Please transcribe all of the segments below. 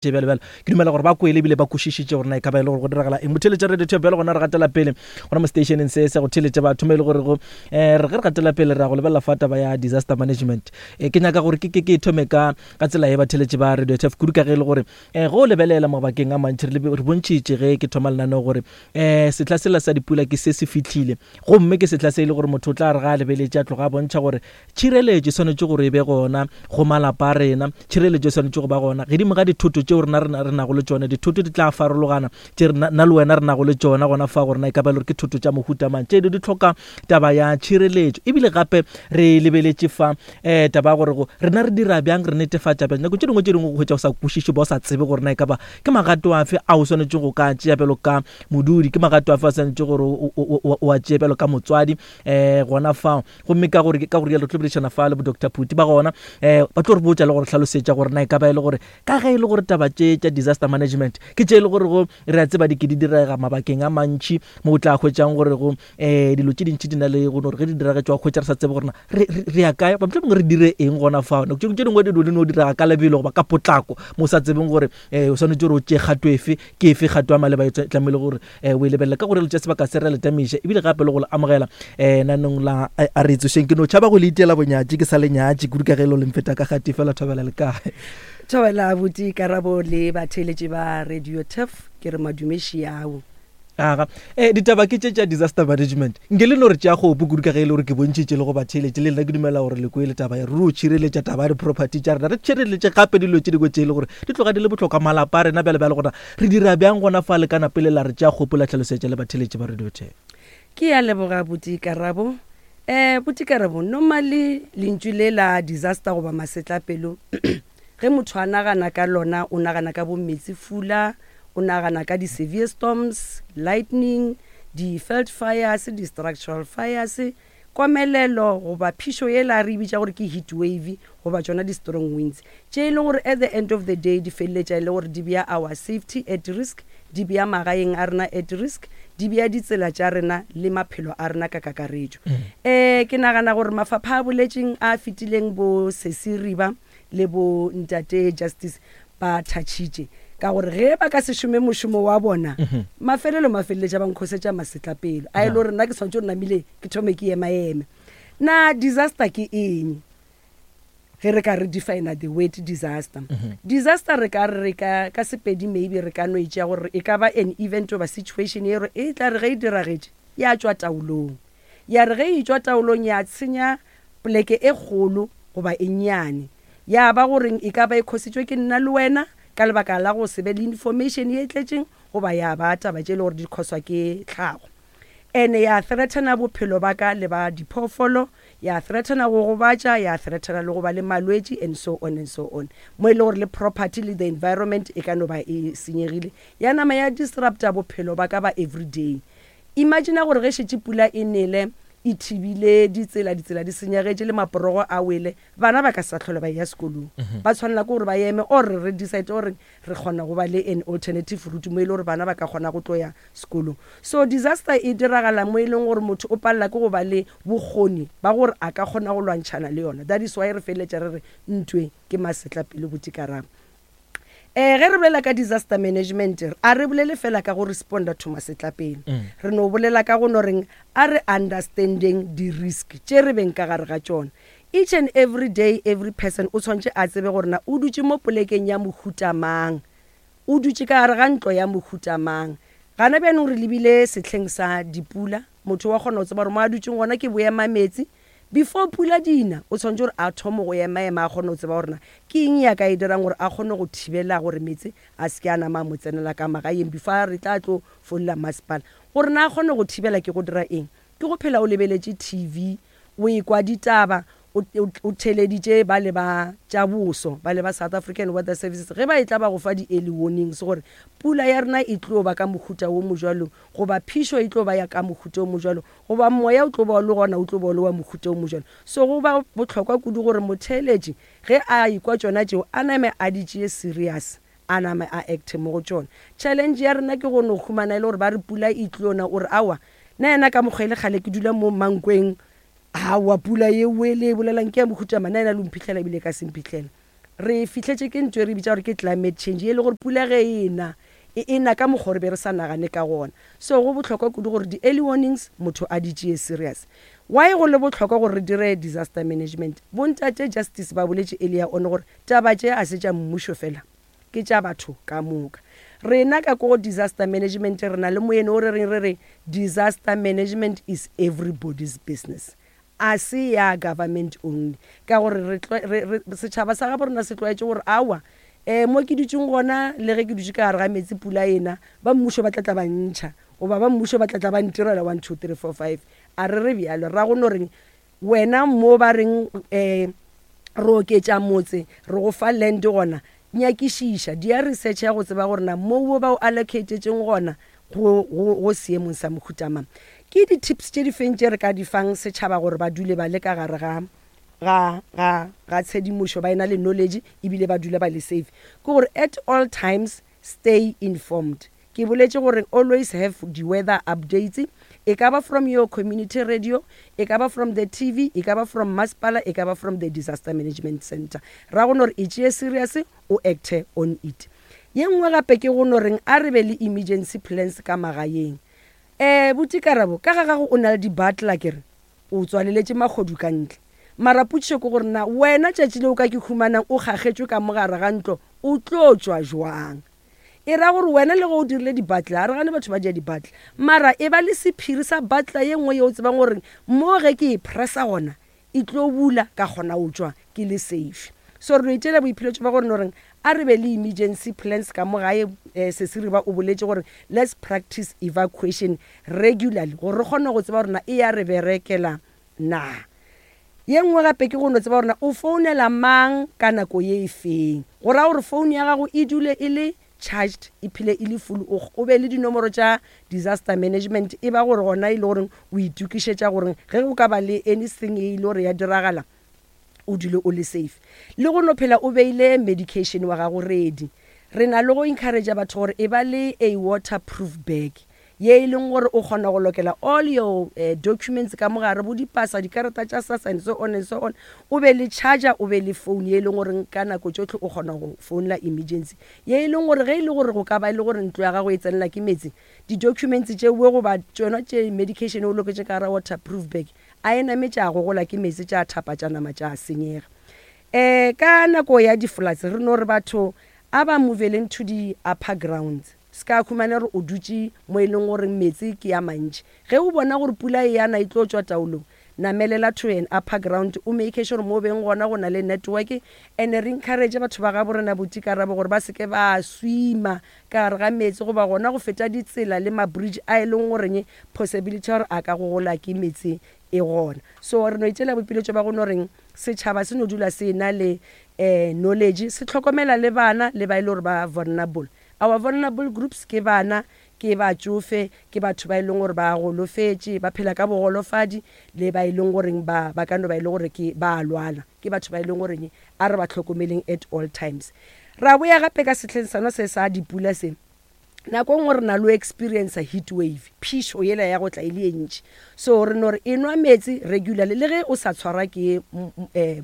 Tše bjalo bjalo. Ke dumela gore ba kwele ebile ba kwešišitše gore na e ka ba e le gore go diragala eng. Motheeletša Radio Tube bjalo gona re gatela pele gona mo stationeng se sa go theeletša batho mo e le gore go eh, re ge re gatela pele re ya go lebelela fa taba ya disaster management. Eh, ke nyaka gore ke ke ke thome ka ka tsela ye batheeletši ba Radio Tube kudu ka ge e le gore eh, go lebelela mabakeng a mantši re re bontšhitše ge ke thoma lenaneo gore eh, sehla sela sa dipula ke se se fihlile gomme ke sehla se e le gore motho o tla re ga a lebeletše a tloga a bontšha gore Tšhireletšo e swanetše gore e be gona go malapa a rena. Tšhireletšo e swanetše go ba gona gedimo ga dithoto tšeo rena re nago le tšona. Dithoto di tla farologana tše rena, nna le wena re nago le tšona gona fa, gore na e ka ba e le gore ke thoto tša mohuta mang. Tše di hloka taba ya tšhireletšo. Ebile gape re lebeletše fa um taba ya gore go rena re dira bjang, re netefatša bjang. Nako tše dingwe tše dingwe go hwetša o sa kwešiše ba o sa tsebe gore na e ka ba ke magato afe a o swanetšego go ka tšea bjalo ka modudi, ke magato afe a swanetše gore o a tšee bjalo ka motswadi um gona fao. Gomme ka gore, ka gore re tlo boledišana fa le bo Doctor Phuti ba gona, eh, ba tlo re botša le gore hlalosetša gore na e ka ba e le gore ka ge e le gore taba tše tša disaster management ke tše e le gore go re a tseba di ke di direga mabakeng a mantši mo o tla hwetšang gore go eh dilo tše dintši di na le go no re ge di diragetše wa hwetša re sa tsebe gore na re re ya kae goba mohlomongwe re dire eng gona fao. Nako tše dingwe dilo di no direga ka lebelo goba ka potlako mo o sa tsebeng gore eh o swanetše gore o tšee kgato efe, ke efe kgato ya maleba e tlamehile gore eh, o e lebelela ka gore le tša sebaka se re le tamiša ebile gape le go le amogela um nanong la eh, a re tsošeng ke no tšhaba go le itiela bonyatši ke sa le nyatši kudu ka ge e le le mfeta ka gati fela thobela le kae. Thobela abuti Karabo le batheeletši ba Radio Turf ke re madumeši ao. Aga eh, ditaba ke tše tša disaster management nke le no re tšea kgopo kudu ka ge e le gore ke bontšhitše le go batheeletše le nna ke dumela gore le kwele taba ya ruri o tšhireletša taba ya di-property tša rena re tšhireletše gape dilo tše dingwe tše e le gore di tloga di le bohlokwa malapa a rena bjale bjale gona Re dira bjang gona fa le kana pele la re tšea kgopo la hlalosetša le batheeletši ba Radio Ten? Ke ya leboga buti Karabo. Eh buti Karabo, normally lentšu le la disaster goba masetlapelo ge motho a nagana ka lona o nagana ka bo meetsefula, o nagana ka di severe storms, lightning, di veld fires, di structural fires, komelelo goba phišo yela re e bitša gore ke heat wave goba tšona di strong winds tše e leng gore at the end of the day di feleletša e le gore di bea our safety at risk, di bea magaeng a rena at risk, di bea ditsela tša rena le maphelo a rena ka kakaretšo. Um ke nagana gore mafapha a boletšeng a fetileng bo Sesi Riba le bo Ntate Justice ba thatšhitše ka gore ge ba ka se šome mošomo wa bona mafelelo mafeleletša ba nkhosetša masetlapelo a e le gore nna ke swanetše gore namile ke thome ke emaeme. Na disaster ke eng? Ge re ka re define the word disaster, disaster re ka re ka ka Sepedi maybe re ka no e tšea gore e ka ba an event goba situation ye e tla re ge e diragetše ya tšwa taolong. Ya re ge e tšwa taolong ya tshenya poleke e kgolo goba e nnyane. Ya ba goreng e ka ba e khositšwe ke nna le wena ka lebaka la go se be le information ye e tletšeng goba ya ba taba tše e le gore di khoswa ke tlhago. Ene ya threatena bophelo ba ka le ba diphoofolo, ya threatena go gobatša, ya threatena le go ba le malwetši and so on and so on. Mo e le gore le property le the environment e ka no ba e senyegile, ya nama ya disrupta bophelo ba ka ba everyday. Imagina gore ge šetše pula e nele, e thibile ditsela, ditsela di senyagetše le maporogo a wele, bana ba ka se sa hlola ba eya sekolong. Ba tshwanela ke gore ba eme or re decide gore re kgona go ba le an alternative route mo e le gore bana ba ka kgona go tlo ya sekolong. So disaster e diragala mo e leng gore motho o palela ke go ba le bokgoni ba gore a ka kgona go lwantšhana le yona. That is why re feleletša re re ntwe ke masetlapelo botikarabo. Eh, ge re bolela ka disaster management, a re bolele fela ka go responda to masetlapelo. Re no bolela ka go no reng a re understandeng di-risk tše re beng ka gare ga tšona. Each and every day, every person o tshwanetše a tsebe gore na o dutše mo polekeng ya mohuta mang, o dutše ka gare ga ntlo ya mohuta mang. Gana bjanong re lebile sehleng sa dipula, motho wa kgona go tseba gore mo a dutšeng gona ke boemametsi, Before pula di na, o tshwanetše gore a thome go emaema a kgone go tseba gore na ke eng ye a ka e dirang gore a kgone go thibela gore meetse a se ke a nama a mo tsenela ka magaeng before a re tla tlo founela masepala. Gore na a kgone go thibela ke go dira eng? Ke go phela o lebeletše TV, o ekwa ditaba, o, o, o theeleditše bale ba tša boso, bale ba South African Weather Services ge ba etla ba go fa di-early warnings gore pula ya rena e tlo ba ka mohuta wo mojwalo goba phišo e tlo ba ya ka mohuta wo mojwalo Goba moya o tlo ba o le gona, o tlo ba o le wa mohuta o mojwalo. So go ba bohlokwa kudu gore motheeletši ge a ekwa tšona tšeo a name a di tšee serious, a name a acte mo go tšona. Challenge ya rena ke go no humana e le gore ba re pula e tlo na, o re aowa nna yena ka mokgwa e le kgale ke dula mo Mankweng, aowa pula yeo e le e bolelang ke ya mohuta mang, nna yena le o mphihlela ebile e ka se mphihlela. Re fihletše ke ntho e re bitša gore ke climate change, ye e le gore pula ge e na, e e na ka mokgwa o re be re sa nagane ka gona. So go bohlokwa kudu gore di-early warnings motho a di tšee serious. Why go le bohlokwa gore re dire disaster management? Bontate Justice ba boletše earlier on gore taba tše a se tša mmušo fela, ke tša batho ka moka. Rena ka ko go disaster management re na le moeno o re reng re re disaster management is everybody's business. A se ya government only ka gore re, re, re, setšhaba sa gabo rena se tlwaetše gore aowa um mo ke dutšeng gona le ge ke dutše ka gare ga meetse pula e na, ba mmušo ba tla tla ba ntšha goba ba mmušo ba tla tla ba ntirela one, two, three, four, five. A re re bjalo, ra go no reng wena mo ba reng um re oketša motse re go fa land gona, nyakišiša, dia research ya go tseba gore na mo wo ba o allocatetšeng gona go, go, go seemong sa mohuta mang. Ke di-tips tše di feng tše re ka di fang setšhaba gore ba dule ba le ka gare ga, ga, ga, ga tshedimošo, ba ena le knowledge ebile ba dula ba le safe? Ke gore at all times stay informed. Ke boletše gore always have di-weather updates, e ka ba from your community radio, e ka ba from the TV, e ka ba from masepala, e ka ba from the disaster management centre. Ra go no re e tšee serious, o acte on it. Ye nngwe gape ke go no reng a re be le emergency plans ka magaeng. Eh, buti Karabo, ka ga gago o na le di-butler ke re, o tswaleletše mahodu ka ntle. Mara potšišo ke gore na wena tšatši le o ka ke humanang o kgakgetšwe ka mo gare ga ntlo o tlo tšwa jwang? E ra gore wena le ge o dirile di-butler, a re gane batho ba dia di-butler, mara e ba le sephiri sa butler ye nngwe ye o tsebang gore mo ge ke e pressa gona e tlo bula ka kgona go tšwa ke le safe. So re no itšeela boiphiletšo ba gore no reng a re be le emergency plans ka mo gae. Eh, Sesi Riba o boletše gore let's practice evacuation regularly gore re kgone go tseba gore na e ya re berekela na. Ye nngwe gape ke go no tseba gore na o founela mang ka nako ye e feng. Go ra gore phone ya gago e dule e le charged e phele e le full o o be le dinomoro tša disaster management e ba gore gona e le goreng o itokišetša gore ge go ka ba le anything e ile gore ya diragala o dule o le safe le go no phela o beile medication wa gago ready re na le go encourage batho gore e ba le a waterproof bag ye e leng gore o kgona go lokela all your uh, documents ka mogare bo dipasa dikarata tša sasa and so on and so on o be le charger o be le phone ye e leng gore ka nako tšohle o kgona go founela emergency ye e leng gore ge e le gore go ka ba e le gore ntlo ya gago e tsenela ke metsi di-documents tšeoe goba tšona tše medication o loketše ka gara waterproof bag a e name tša gogola ke metsi tša thapa tša nama tša senyega um ka nako ya di-floods re no re batho a ba moveleng to di-upper grounds Se ka humana gore o dutše mo e leng gore meetse ke a mantši. Ge o bona gore pula e a na e tlo tšwa taolong, namelela to an upper ground o make sure mo o beng gona go na le network and re encourage batho ba gabo rena Buti Karabo gore ba se ke ba swima ka gare ga meetse goba gona go feta ditsela le ma-bridge a e leng goreng possibility ya gore a ka gogola ke meetse e gona. So re no itšela boipiletšo ba go no reng setšhaba se no dula se na le um knowledge, se hlokomela le bana le ba e le gore ba vulnerable. Our vulnerable groups ke bana, ke batšofe, ke batho ba e leng gore ba golofetše, ba phela ka bogolofadi, le ba e leng goreng ba, ba ka no ba e le gore ke ba a lwala. Ke batho ba e leng goreng a re ba hlokomeleng at all times. Ra boya gape ka sehleng sona se sa dipula se, nako e nngwe re na le go experiencer heat wave, phišo yela ya go tla e le ye ntši. So re no re enwa meetse regularly le ge o sa tshwarwa ke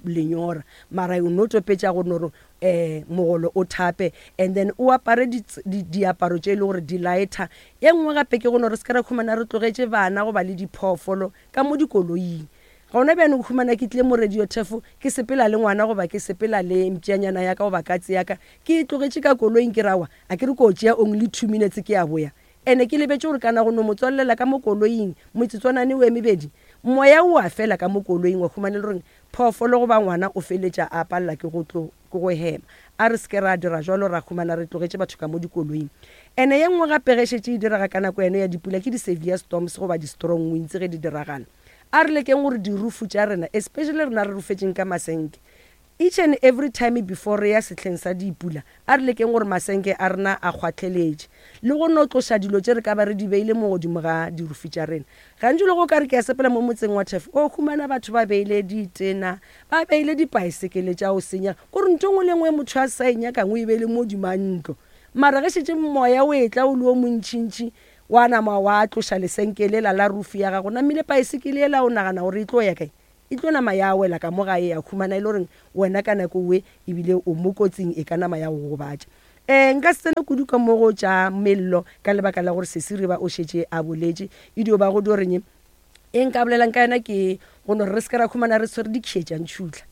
lenyora, mara o no topetša go no re um mogolo o thape and then o apare diaparo tše e le gore di lighter. E nngwe gape ke go no re se ke ra khumana re tlogetše bana goba le diphoofolo ka mo dikoloing. Gona bjane o khumana ke tlile mo radio turf ke sepela le ngwana goba ke sepela le mpšanyana ya ka goba katse ya ka ke e tlogetše ka koloing ke re aowa a ke re ko tšea only 2 minutes ke a boya. Ene ke lebetše gore kana go no mo tswalelela ka mo koloing metsotswanane o e mebedi moya o a fela ka mo koloing wa khumana e le gore Phoofolo goba ngwana o feletša a palela ke go tlo, ke go hema. A re se ke ra dira jwalo ra humana re tlogetše batho ka mo dikoloing. Ene ye nngwe gape ge šetše e direga ka nako yeno ya dipula ke di-severe storms goba di-strong winds ge di diragala. A re lekeng gore dirufu tša rena, especially rena re rufetšeng ka masenke, each and every time before re ya sehleng sa dipula, a re lekeng gore masenke a rena a kgwahleletše le go no tloša dilo tše re ka ba re di beile mo godimo ga dirufu tša rena. Gantši le go ka re ke a sepela mo motseng wa Turf, o humana batho ba beile ditena, ba beile dipaesekele tša go senyega, kore ntho e nngwe le nngwe e motho a sa e nyakang o e beile mo godimo ga ntlo. Mara ge šetše moya o etla o le o montšintši, wa nama wa tloša lesenke lela la roof ya gago, namile paesekele yela o nagana gore e tlo ya kae? E tlo nama ya wela ka mo gae ya humana e le goreng wena ka nako we ebile o mo kotsing e ka nama ya go gobatša. Um nka se tsene kudu ka mo go tša mello ka lebaka la gore Sesi Riba o šetše a boletše. E dio ba go dio reng e nka bolelang ka yona ke go no re re se ke ra humana re tshwere dikhie tša ntšhutla.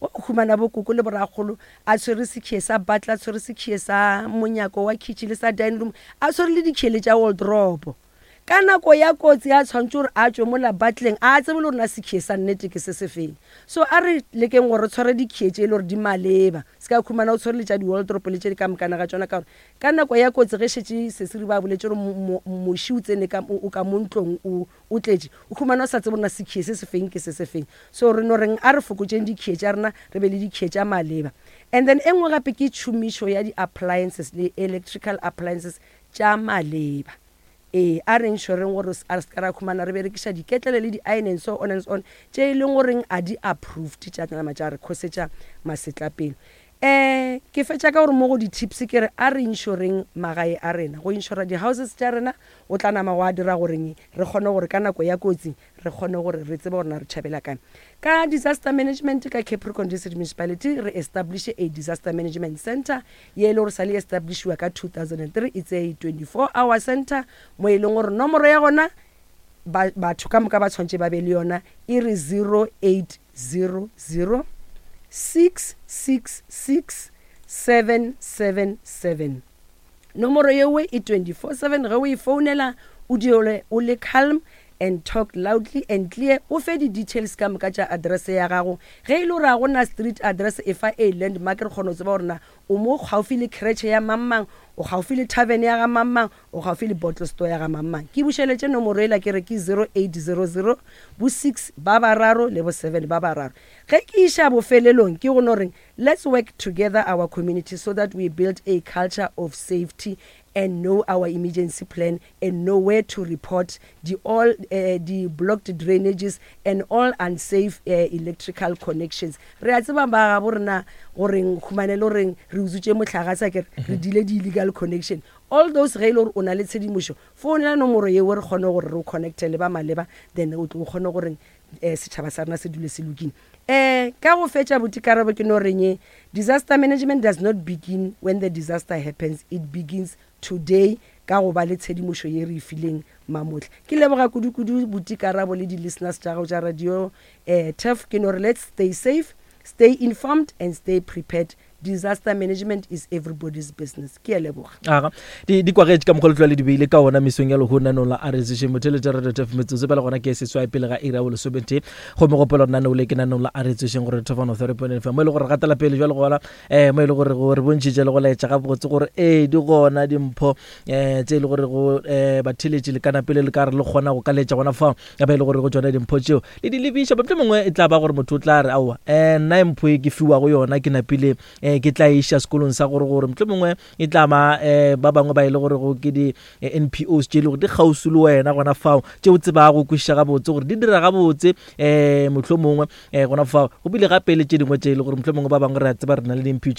O humana bokoko le borakgolo a tshwere sekhie sa butler, a tshwere sekhie sa monyako wa kitchen le sa dining room, a tshwere le dikhie le tša wardrobe. Ka nako ya kotsi a tshwanetše gore a tšwe mola butleng a tsebe le gore na sekhie sa nnete ke se sefeng. So a re lekeng gore re tshware dikhie tše e le gore di maleba. Se ka khumana o tshwere le tša di-wardrobe le tše di ka mokana ga tšona ka gore ka nako ya kotsi ge šetše Sesiri ba boletše gore moši o tsene ka, o ka mo ntlong o, o tletše, o khumana o sa tsebe gore na sekhie se sefeng ke se sefeng. So re no reng a re fokotšeng dikhie tša rena re be le dikhie tša maleba. And then e nngwe gape ke tšhomišo ya di-appliances le electrical appliances tša maleba. Ee, a re ensuring gore a re se ka ra khumana re berekiša diketlele le di-iron and so on and so on tše e leng goreng a di approved tša nama tša re khosetša masetlapelo. Um ke fetša ka gore mo go di-tips ke re a re insureng magae a rena. Go insura di-houses tša rena go tla nama gwa dira goreng re kgone gore ka nako ya kotsi re kgone gore re tsebe gore na re tšhabela kae. Ka disaster management ka Capricorn District Municipality re establish a disaster management centre ye e le gore sa le establishiwa ka 2003. It's a 24 hour centre mo e leng gore nomoro ya gona ba, batho ka moka ba tshwanetse ba be le yona e re 0800 666 777. Nomoro yewe e 24/7 ge o e founela o dule o le calm and talk loudly and clear o fe di details ka moka tša address ya gago ge e le gore ga go na street address e fa a landmark re kgone go tseba gore na o mo gaufi le creche ya mang mang o gaufi le tavern ya ga mang mang o gaufi le bottle store ya ga mang mang ke bušeletše nomoro ela ke re ke 0800 bo 6 ba bararo le bo 7 ba bararo ge ke iša bofelelong ke go no reng Let's work together our community so that we build a culture of safety and know our emergency plan and know where to report the all uh, the blocked drainages and all unsafe uh, electrical connections. Re a tseba ba gabo rena goreng khumane le goreng re utswitše mohlagase a kere re dile di illegal connection. All those ge e le gore o na le tshedimošo founela nomoro yeo re kgone gore re o connecte le ba maleba then o tlo kgone goreng um setšhaba sa rena se dule se lokile. Um ka go fetša buti Karabo ke no reng disaster management does not begin when the disaster happens, it begins today ka go ba le tshedimošo ye re e fileng mamohla. Ke leboga kudu-kudu buti Karabo le di-listeners tša gago tša radio um Turf. Ke no re let's stay safe, stay informed and stay prepared Disaster management is everybody's business. Ke a leboga. Aga, di, di kwagetše ka mokgwa le tloa le di beile ka ona mesong ya lehono nanong la RSG motheletša Radio Turf metsotso pele gona ke seswai pele ga iri ya bolesometee gomme gopola gore naneo le ke nanong la RSG gore Turf 103.9 FM mo e le gore re gatela pele jwale gona um mo e le gore go re bontšhitše le go laetša gabotse gore ee di gona dimpho um tše e le gore go um batheletši le kana pele le ka re le kgona go ka letša gona fao ya ba e le gore go tšona dimpho tšeo le di lebiša mohlomongwe mongwe e tla ba gore motho o tla re aowa um nna mpho e ke fiwago yona ke napile um ke tla iša sekolong sa gore gore mohlomongwe mongwe e tla ba um ba bangwe ba e le gore go ke di-N P Os tše e le gore di kgauswi le wena gona fao tše o tsebago go kwešiša gabotse gore di dira gabotse um mohlomongwe um gona fao go bile gape le tše dingwe tše e le gore mohlomongwe ba bangwe re a tseba re na le di-N P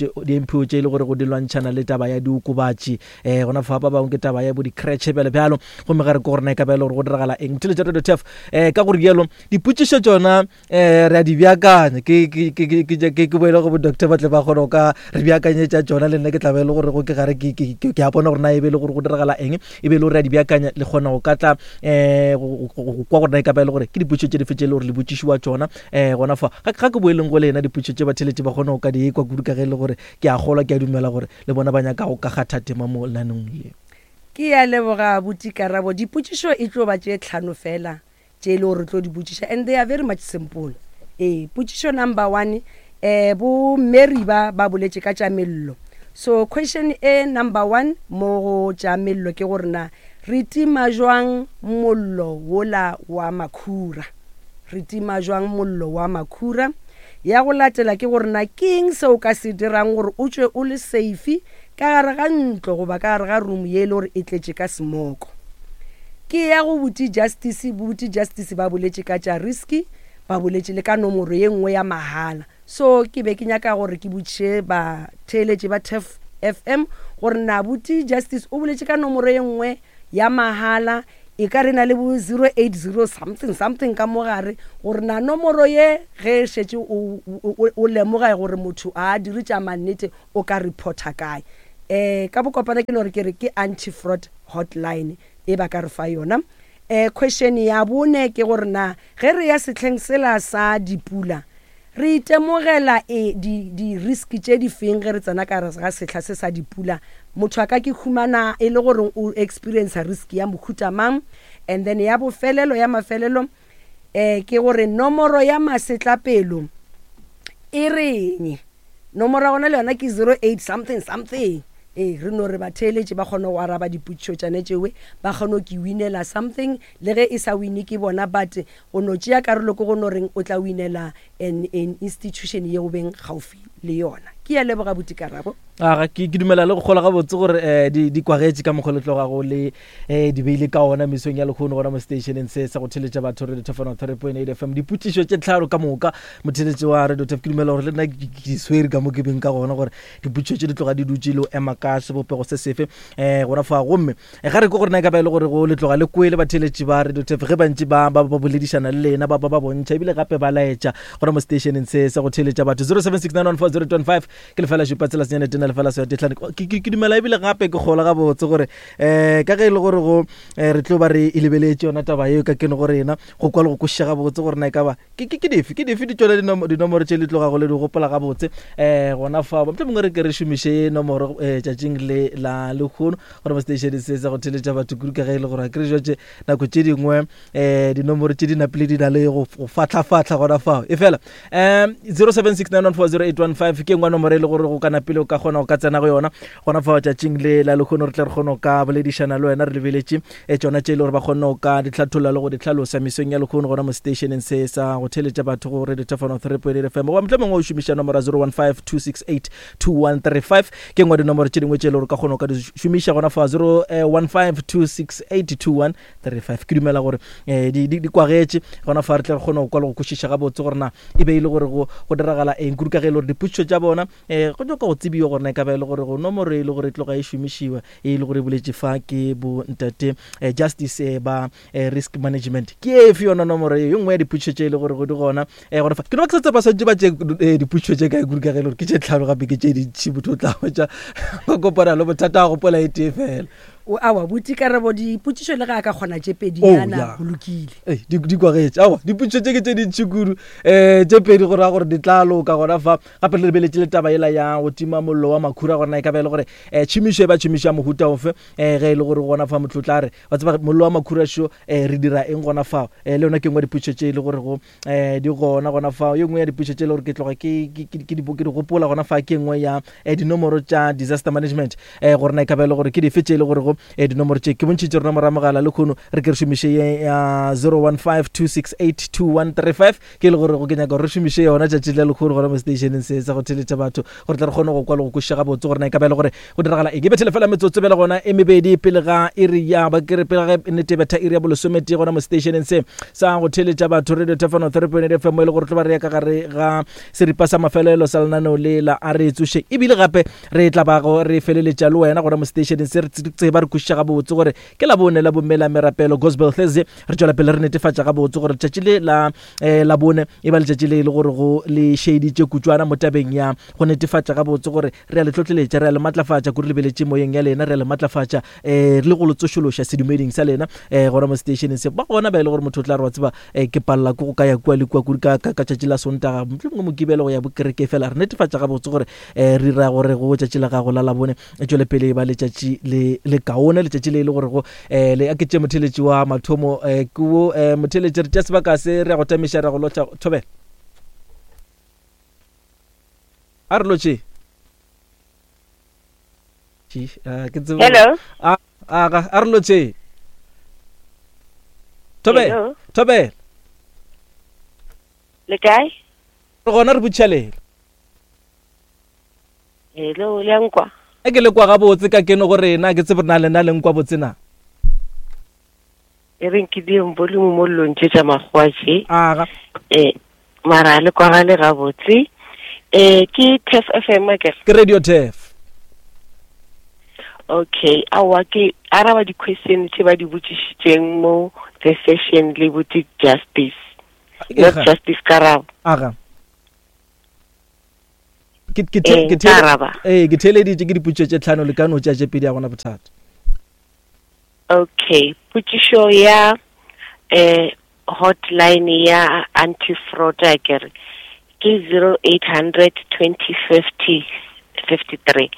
O tše e le gore go di lwantšhana le taba ya diokobatši um gona fa ba bangwe ke taba ya bo di-cratche bjalo bjalo gomme ga re ko gore na e ka ba e le gore go diragala eng motšheletša radio tef um ka gore jalo dipotšišo tšona um re a di beakanya ke boele go bo doctor ba tle ba kgone go ka re beakanyetša tšona le nna ke tla be e le gore go ke gare ke a bona gore na e be e le gore go diragala eng e be e le gore re a di beakanya le kgona go ka tla um go kwa gore na e ka ba e le gore ke dipotšišo tše dife tše e le gore le botšišiwa tšona um gona fa ga ke boeleng go lena dipotšišo tše batheletše ba kgone go ka di ekwa kudu ka ge e le gore ke a kgolwa ke a dumela gore le bona ba nyaka go ka kgatha tema mo lenaneong le. Ke a leboga abuti Karabo. Dipotšišo e tlo ba tše tlhano fela tše e le gore re tlo di botšiša and they are very much simple. Ee, potšišo number one, eh, bo Mary ba ba boletše ka tša mello. So question e number one mo go tša mello ke gore na re tima jwang mollo wola wa makhura? Re tima jwang mollo wa makhura? Ya go latela ke gore na ke eng se o ka se dirang gore o tšwe o le safe ka gare ga ntlo goba ka gare ga room ye e le gore e tletše ka smoko. Ke ya go Buti Justice, Buti Justice ba boletše ka tša risky, ba boletše le ka nomoro ye nngwe ya mahala. So ke be ke nyaka gore ke botšiše batheeletši ba Turf FM gore na Buti Justice o boletše ka nomoro ye nngwe ya mahala. E ka re na le bo 080 something something ka mo gare, gore na nomoro ye ge e šetše o, o, o lemoga gore motho a dire tša mannete o ka reporta kae. Um ka bokopana ke no re ke re ke anti-fraud hotline e ba ka re fa yona. Um question ya bone ke gore na ge re ya sehleng sela sa dipula re itemogela e di, di risk tše di feng ge re tsena ka gare ga sehla se sa dipula? Motho a ka ke humana e le gore o experience risk ya mohuta mang? And then ya bofelelo ya mafelelo um ke gore nomoro ya masetlapelo e reng? Nomoro ya gona le yona ke 08 something something. Ee, re no re batheeletši ba kgone go araba dipotšišo tšane tšewe, ba kgone go ke winela something, le ge e sa wine ke bona, but go no tšea karolo ke go no reng o tla winela an, an institution ye o beng gaufi le yona. Ke ya leboga buti Karabo. Aga, ke, ke dumela le go kgola gabotse gore um di, di kwagetše ka mokgwa le tlogago le um di beile ka ona mesong ya lekgono gona mo stationeng se sa go theletša batho Radio Thefano 3.8 FM. Dipotšišo tše tlhano ka moka motheletši wa Radio Thef, ke dumela gore le nna ke di swere ka mo ke beng ka gona gore dipotšišo tše di tloga di dutše le ema ka sebopego se sefe um gona fa. Gomme ga re ke gore na e ka ba e le gore go le tloga le kwele batheletši ba Radio Thef ge bantši ba ba ba boledišana le lena, ba ba ba bontšha ebile gape ba laetša gona mo stationeng se sa go theletša batho. 07691402 ke lefela šupa tsela senyane tena lefela swa tetlhane. Ke, ke, ke dumela ebile gape ke kgola gabotse gore um ka ge e le gore go um re tlo ba re e lebeletše yona taba yeo ka keno go rena go kwa le go kwešiša gabotse gore na e ka ba ke, ke, ke dife ke dife di tšona dinomoro tše le tlogago le di gopola gabotse um gona fao. Mohlomongwe mongwe re ke re šomiše nomoro um tšatšing le la lekgono gore mo seteišene se sa go theletša batho kudu ka ge e le gore a kere jwatše nako tše dingwe um dinomoro tše di napile di na le go fatlhafatlha gona fao. E fela um 0769140815 ke engwe nomoro e le gore go ka napile o ka kgona go ka tsena go yona gona fao tšatšing le la lekgono, re tle re kgone go ka boledišana le wena re lebeletše e tšona tše e le gore ba kgonne go ka di hlatholla le go di hlalosa mesong ya lekgono gona mo stationeng se sa go theletša batho go Radio Thefano 3.8 FM. Goba mohlomongwe o šomiša nomoro ya 0152682135 ke engwe dinomoro tše dingwe tše e le gore ka kgona go ka di šomiša gona fa 0152682135. Ke dumela gore um di, di, di kwagetše gona fa, re tle re kgone go kwa le go kwešiša gabotse gore na e be e le gore go, go diragala eng kudu ka ge e le gore dipotšišo tša bona um go nyaka go tsebiwa gore na e ka ba e le gore go nomoro e le gore e tloga e šomišiwa e le gore e boletše fa ke bo ntate eh, Justice eh, ba eh, risk management ke efe yona nomoro ye nngwe ya dipotšišo tše e le gore go di gona eh, gona fa. Ke no ba ke sa tseba swantše ba tše eh, dipotšišo tše kae kudu ka ge e le gore ke tše tlhano gape ke tše dintši, motho o tla hwetša ba kopana le bothata a gopola e tee fela. O awa buti Karabo, dipotšišo le ge a ka kgona tše pedinyana Oh, yeah. go lokile. Ei, di, di kwagetše awa dipotšišo tše ke tše dintši kudu um tše pedi go raya gore di tla loka gona fa. Gape re lebeletše le taba yela ya go tima mollo wa makhura gore na e ka ba e le gore um tšhomišo e ba tšhomišo ya mohuta ofe um ge e le gore gona fa motho o tla re wa tseba mollo wa makhura šo um re dira eng gona fao. Um le yona ke nngwe ya dipotšišo tše e le gore go um di gona gona fao. Ye nngwe ya dipotšišo tše e le gore ke tloga ke, ke, ke, ke di, ke di gopola gona fa ke nngwe ya um dinomoro tša disaster management um gore na e ka ba e le gore ke dife tše e le gore go um dinomoro tše ke bontšhitše rona moramogala le kgono re ke re šomiše ye ya 0152682135 ke e le gore go ke nyaka gore re šomiše yona tšatši le lekgono gona mo stationeng se sa go theletša batho gore tle re kgone go kwa le go kwešiša gabotse gore na e ka ba e le gore go diragala eng. E bethele fela metsotso bjale gona e mebedi pele ga iri ya ba ke re pele ga nnete betha iri ya bolesometee gona mo stationeng se sa go theletša batho Radio Thefano 3.8 FM mo e le gore tlo ba re ya ka gare ga seripa sa mafelelo sa lenaneo le la a re tsoše, ebile gape re tla ba go re feleletša le wena gona mo stationeng se re tseba re kwešiša gabotse gore ke la bone la bomme la merapelo Gospel Thursday. Re tšwela pele re netefatša gabotse gore letšatši le la eh, la bone e ba letšatši le e le gore go le šeditše kutšwana mo tabeng ya go netefatša gabotse gore re a le tlotleletša, re a le matlafatša kudu lebeletše moyeng ya lena, re a le matlafatša eh, le go le tsošološa sedumeding sa lena eh, gona mo stationeng se. Ba gona ba e le gore motho o tla re wa tseba eh, ke palela ke go ka ya kua le kua kudu ka, ka, ka tšatši la Sontaga, mohlomongwe Mokibelo go ya bokereke, fela re netefatša gabotse gore eh, re dira gore go tšatši la gago la Labone e tšwele pele e ba letšatši le le kaone, letšatši le e le gore go eh, le aketše motheletši wa mathomo eh, ke wo eh, motheletši re tša sebaka se re ya go tamiša re go lotša thobela a re lotše. Ke tsebe Hello. A a a re lotše thobela thobela. Le kae? Re gona re botšhalela. Hello, le a nkwa? A ke le kwa gabotse ka keno go rena, ke tsebe na lena le nkwa botse na. E reng ke dieng volume mo long tše tša makgowa tše. Aga. Eh, mara le kwagale gabotse. Eh, ke Turf FM akere? Ke Radio Turf. Okay, aowa ke araba di-question tše ba di botšišitšeng mo the session le botse justice. Not justice karabo. Aga. Ke ke eh, ke araba. Eh, ke theleditše ke dipotšišo tše tlhano le ka no tša tše pedi a gona bothata. Okay, potšišo ya eh hotline ya anti fraud a kere ke 0800 2050 53.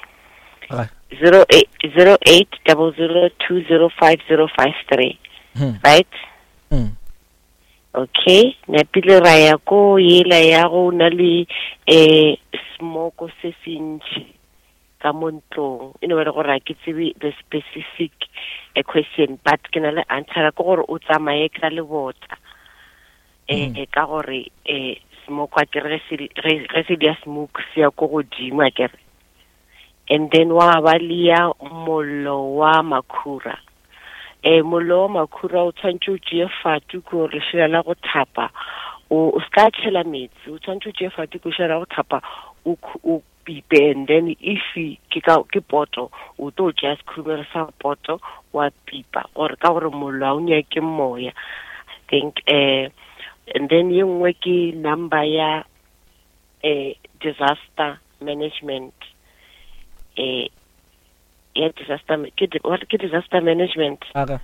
08 00205053. Right? Mm. Okay, napile ra ya ko yela ya go na le eh smoko se sentši ka mo ntlong e no ba le gore ga ke tsebe the specific a question but ke na le answer ke gore o tsamaye ka lebota um ka gore um smoke a kere ge se dia smoke se ya ko godimo a kere and then wa ba le ya mollo wa makhura um mollo wa makhura o tshwanetse o tšee fatu ke gore lešela la go thapa o se ka tšhela metsi o tshwanetse o tšee fatu ke lešela la go thapa o pipe and then if ke ka ke poto o tlo tšea sekhurumelo sa poto wa pipa gore ka gore mollo ga o nyake moya i think eh and then ye nngwe ke number ya eh disaster management eh ya disaster ke ke disaster management aga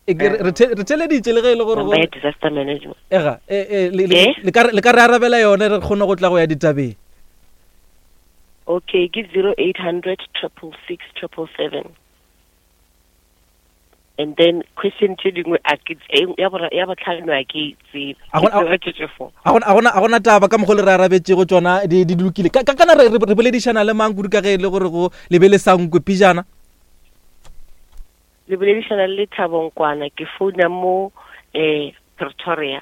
E, re theleditše le ge e le gore disaster management ega e, e, le ka re arabela yone re kgone go tla go ya ditabeng okay ke 0800 666 777 and then question tše dingwe a ke ya botlhano a ke tsebe a gona taba ka mokgwa le re arabetšego tsona di lokile ka kana re boledišana le mang kudu ka ge e le gore go lebe le sankwe pijana Le boledišana le Lethabo Nkwana, ke founa mo eh Pretoria.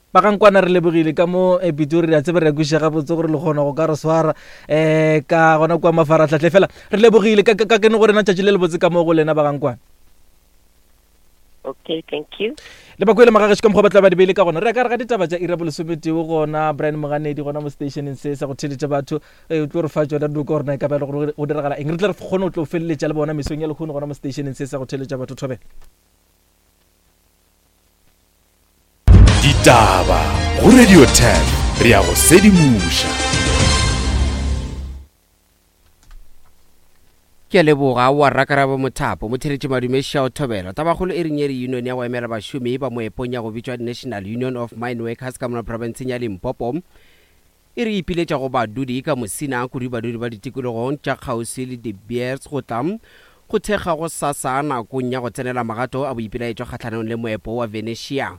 Ba ga Nkwana re lebogile ka mo eh, Pitori, re a tseba re a kwešiša gabotse gore le kgona go ka re swara eh ka gona kua mafaratlhatlha fela re lebogile ka ka kene go rena tšatši le lebotse ka mo go lena ba ga Nkwana. Okay, thank you. Le bakwele magagešo ka mokgwa ba tla ba di beile ka gona re ya ka re ga ditaba tša ira bolesometee gona Brian Moganedi gona mo stationeng se sa go theletša batho Ee, o tlo re fa tšona dilo ka gore na e ka ba e le gore go diragala eng. Re tle re kgone go tlo feleletša le bona mesong ya lehono gona mo seteišeneng se sa go theeletša batho thobela. Ditaba go Radio 10 re ya go sedimoša. Ke a leboga wa Rakarabo Mothapo, Motheletši Madume Shao Thobela. Tabakgolo e reng ye re union ya go emela bašomi ba moepong ya go bitšwa National Union of Mine Workers ka mona profenseng ya Limpopo E re ipiletša go badudi ka Musina, kudu badudi ba ditikologong tša kgauswi le De Beers go tla go thekga gosasa nakong ya go tsenela magato a boipelaetšo kgahlanong le moepo wa Venetia.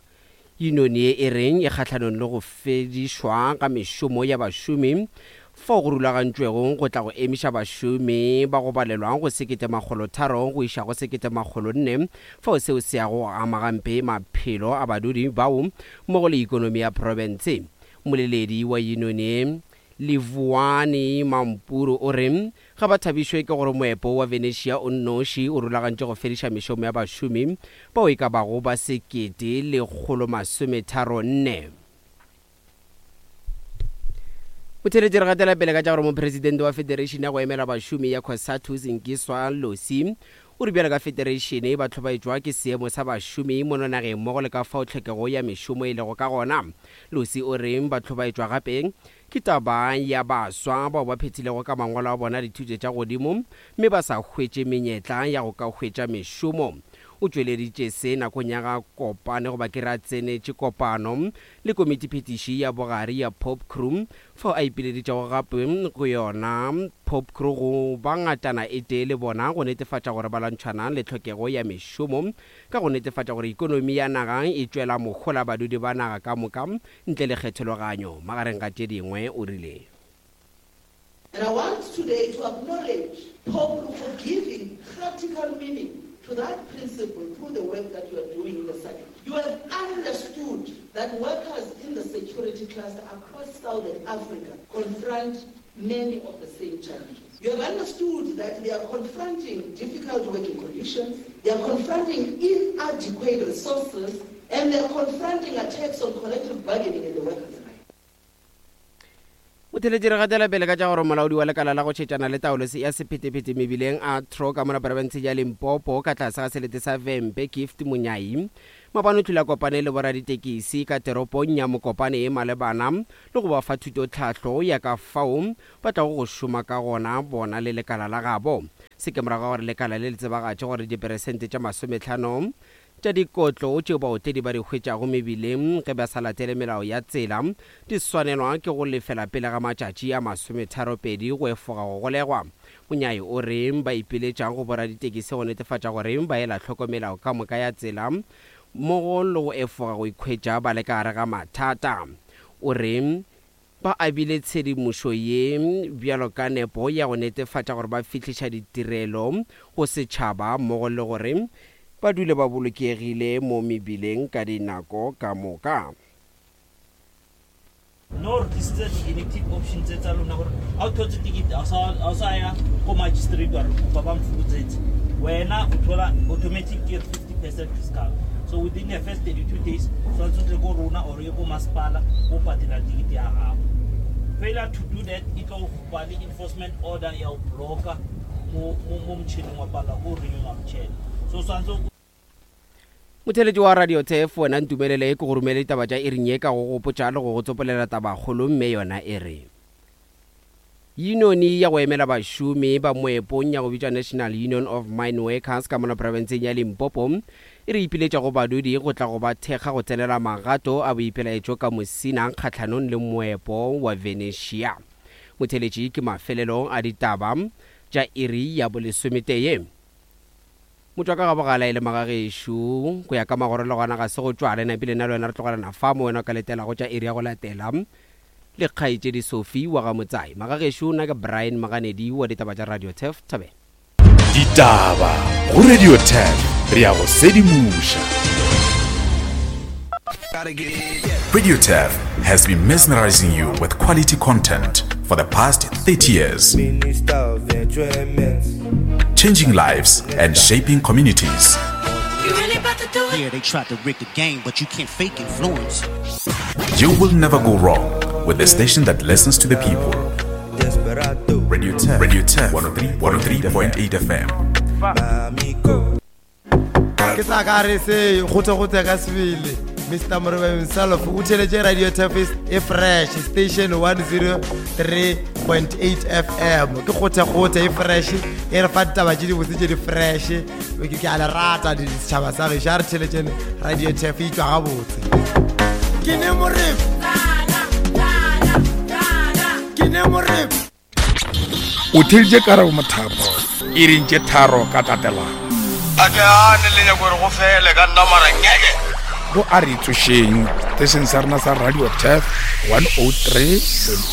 Yunione ye e re e kgahlanong le go fedišwa ga mešomo ya bašomi fao go rulagantšwego go tla go emiša bašomi ba go balelwa go 1300 go iša go 1400 fao seo se yago go ama gampe maphelo a badudi bao mmogo le ikonomi ya profense. Mmoleledi wa yunoni, Livhuwani Mampuru o re ga ba thabišwe ke gore moepo wa Venetia o nnoši o rulagantše go fediša mešomo ya bašomi bao e ka bago ba 1,134. Motheeletši re gatela pele ka tša gore mopresidente wa Federation ya go emela bašomi ya Cosatu Zingiswa Losi O re bjalo ka fetereišene ba hlobaetšwa ke seemo sa bašomi mono nageng mmogo le ka fao tlhokego ya mešomo e lego ka gona. Losi o re ba hlobaetšwa gape ke taba ya baswa bao ba phethilego ka mangwalo a bona dithuto tša godimo mme ba sa hwetše menyetla ya go ka hwetša mešomo. O tšweleditše se nakong ya ga kopane goba ke re a tsenetše kopano le komitiphethiši ya bogare ya Popcru fao a ipileditšego gape go yona Popcru go ba ngatana e tee le bona go netefatša gore ba lwantšhana le tlhokego ya mešomo ka go netefatša gore ikonomi ya naga e tšwela mohola badudi ba naga ka moka ntle le kgethologanyo magareng ga tše dingwe, o rile. And I want today to acknowledge Popcru for giving practical meaning to that principle through the work that you are doing in the SADC. You have understood that workers in the security cluster across Southern Africa confront many of the same challenges. You have understood that they are confronting difficult working conditions, they are confronting inadequate resources, and they are confronting attacks on collective bargaining and the workers' rights. Motheletši re gatela pele ka tša gore molaodi wa lekala la go tšhetšana le taolo ya sephetephete mebileng a tro ka mola profenseng ya Limpopo ka tlase ga selete sa Vhembe Gift Munyai mabane o tlile a kopane le boraditekisi ka teropong ya Mokopane e malebana le go ba fa thutotlhahlo ya ka fao ba tlago go šoma ka gona bona le lekala la gabo. Se ke morago ga gore lekala le le tsebagatše gore diperesente tša masometlhano Tša dikotlo tšeo baotledi ba di hwetšago mebileng ge ba sa latele melao ya tsela di swanelwa ke go lefela pele ga matšatši a masometharopedi go efoga go golegwa. Monyai o re ba ipiletša go boraditekisi go netefatša gore ba ela hloko melao ka moka ya tsela mmogo le go efoga go ikhwetša ba le ka gare ga mathata. O re Ba abile tshedimošo ye bjalo ka nepo ya go netefatša gore ba fihliša ditirelo go setšhaba mmogo le gore ba dule ba bolokegile mo mebileng ka dinako ka moka. No re tlisitse di-inactive option tse tsa lona gore ga o thotse ticket ga o sa ya ko magistrate wa re kopa ba mfokotsetse wena o thola automatic ke 50 percent discount so within the first 32 days tshwanetse o tle ko rona or ye ko masepala o patela tikete ya gago. Failure to do that e tlo ba le enforcement order ya go blocka mo mo motšhineng wa palelwa ko renewa motšhene so tshwanetse o Motheeletši wa Radio Turf, wena ntumelele ke go romele ditaba tša iring ye ka go gopotša le go go tsopolela tabakgolo mme yona e re. Yunione ya go emela bašomi ba moepong ya go bitšwa National Union of Mineworkers ka mola profenseng ya Limpopo e re ipiletša go badudi go tla go ba thekga go tsenela magato a boipelaetšo ka Musina kgahlanong le moepo wa Venetia. Motheeletši ke mafelelo a ditaba tša iri ya bolesometee. Motšwa ka ga bogala e le magagešo go ya ka magoro le gona ga se go tšwale napile nna le wena re tlogelana fa mo wena o ka letelago tša iri ya go latela. Le kgaetšedi Sophie wa ga Motsai. Magagešo, nna ke Brian Maganedi wa ditaba tša Radio Turf. Thobela. Ditaba go Radio Turf, re a go sedimoša. Radio Turf has been mesmerizing you with quality content for the past 30 years. Changing lives and shaping communities. Yeah, they tried to rig the game, but you can't fake influence. You will never go wrong with the station that listens to the people. Radio 10, Radio 10, 103.8 FM. ke sa ka re se gote-gote ka sebele mr moreba himself o theletše radio tafis e fresh station 103.8 fm ke kgothekgothe e fresh e re fa ditaba tše dibotse tše di fresh ke a le rata setšhaba sa gešo a re theletšene radio taf e tšwa gabotse ke ne moreba ke ne moreba o theleditše karabo mothapo e reng tše tharo ka tatelano a ke ane le nyako gore go fele ka nna mara ngeke go a re tsošeng setešeng sa rena sa radio tef 103.